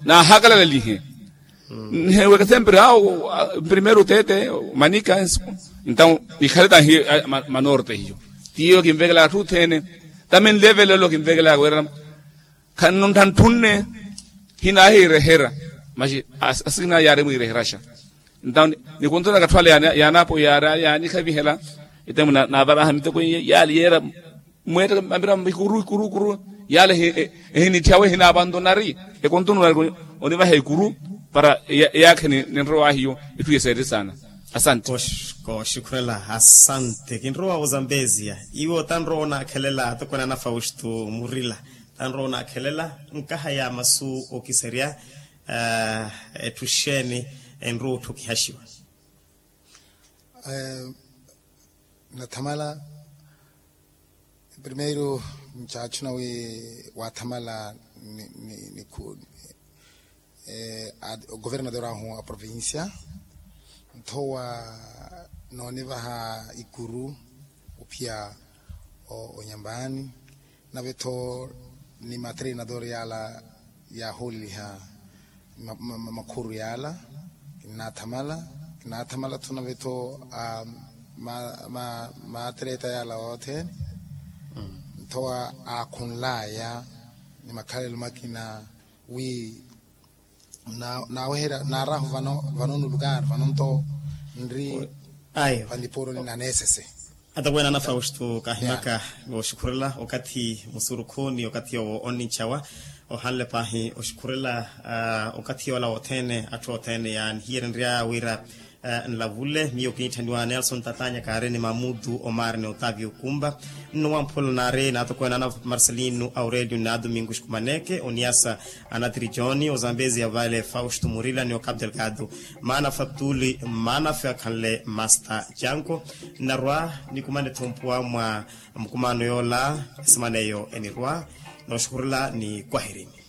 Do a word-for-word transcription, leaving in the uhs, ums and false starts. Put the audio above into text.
Naahakalalalihe. Nheweke sempre awo. Primeiro tete manika. Entaw nikhale tahi manorte hiyo. Tiyo kinvekela atthu othene. Tamin levelelo kinvekela wira khanno ntthantthu nne. Hinahiirehera maxi asikina yaari mwiireheraxa. Entaw nikunthuna katthwale yaanapo yaari yaanikhavihela. Etemu naavaraha miteko iye yaali yeera mweettaka mapira ikuru ikuru ikuru. Yale ehinitthyawe ehinaapanto nari ekontuno nari onivaha ikuru. Para eyaakhe ninrowa ahiyo itthu yeseeri saana. Asante. Kooxukhurela asante kinrowa ozambeziya. Iwe otanrowa onaakhelela atokweene ana fausto murila tanrowa onaakhelela nkaha ya masu okiserya. Etthu xeeni enrowa otthukihaxiwa? Nathamala primeiro ncaachuna wi waathamala ni governador ahu a provincia. Nthowa noonivaha ikuru ophiya onyambani nave-tho ni matreinador yala yaahooleliha makhuru yala. Kinnaathamala kinnaathamala-tho nave-tho maatreta yala othene. Nthowa aakhunlaya ni makhalelo makina wi naaweherya naarahu vano nulukari vano nto nri. Vaniporoni naneesese. Atakweene ana fausto kahimaka vooxukhurela okathi musurukhu ni okathi owo onninchawa ohanle paahi oxukhurela. Okathi yoola wothene atthu othene yaanihiyererya wira nlavule miyo kiniitthaniwa nelson tatanya kaari ni mamutu omari ni otavio kumba. Nno wamphula naari naatokweene ana marcelino aurelio ni adomingo xikumaneke oniyasa anatiri joni ozambezi ya vale fausto murila ni okapu delgado maana fatuli maana fe akhanle masta janko. Nnarwa nikumane-tho mpuwa mwa mukumano yoola esemana eyo enirwa nooxukhurela ni kwaherini.